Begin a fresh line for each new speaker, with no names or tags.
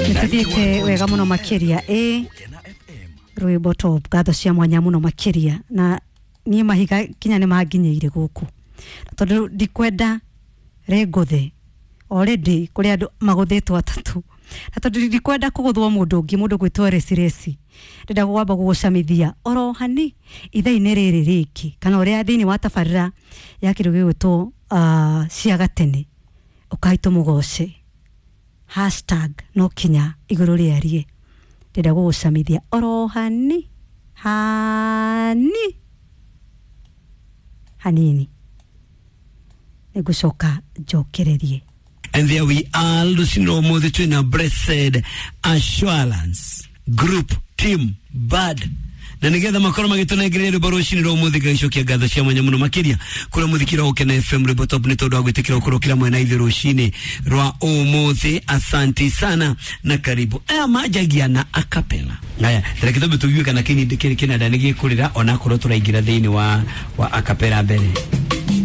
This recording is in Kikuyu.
Nĩtũthiĩte wega mũno makĩria ĩ rwĩmbo top, ngatho cia mwanya mũno makĩria. Na niĩ mahiga kinya nĩ manginyĩire gũkũ tondũ ndikwenda rĩngũthe. Already kũrĩ andũ magũthĩtwo atatũ, na tondũ ndikwenda kũgũthwo mũndũ ũngĩ, mũndũ gwĩtwo resi, ndĩrenda kwamba gũgũcamithia oro hani ithaa-inĩ rĩrĩ rĩngĩ kana ũrĩa thĩinĩ wa tabarĩra ya kĩndũ gĩgwĩtwo cia gatene. Ũkai tũmũgoce hashtag no kinya igũrũ rĩarie. Ndĩrenda gũgũcamithia oro hani hani hanini, nĩngũcoka njokererie.
And there we are, rũcinĩ rwa ũmũthĩ twĩna Blessed Assurance Group Team Bad, na nigetha makorwo magĩtũnengereria rwĩmbo rũcinĩ rwa ũmũthĩ. Ngagĩcokia ngatho cia mwanya mũno makĩria kũrĩa mũthikĩra Gũkena FM Rwĩmbo Top nĩ tondũ wa gwĩtĩkĩra gũkorwo kĩra mwena ithuĩ rũcinĩ rwa ũmũthĩ. Asanti sana na karibu. Aya manjagia na acapella. Aya, reke twambe tũigue kana kĩnanda nĩ gĩkũrĩra onakorwo tũraingĩra thĩinĩ wa acapella mbere.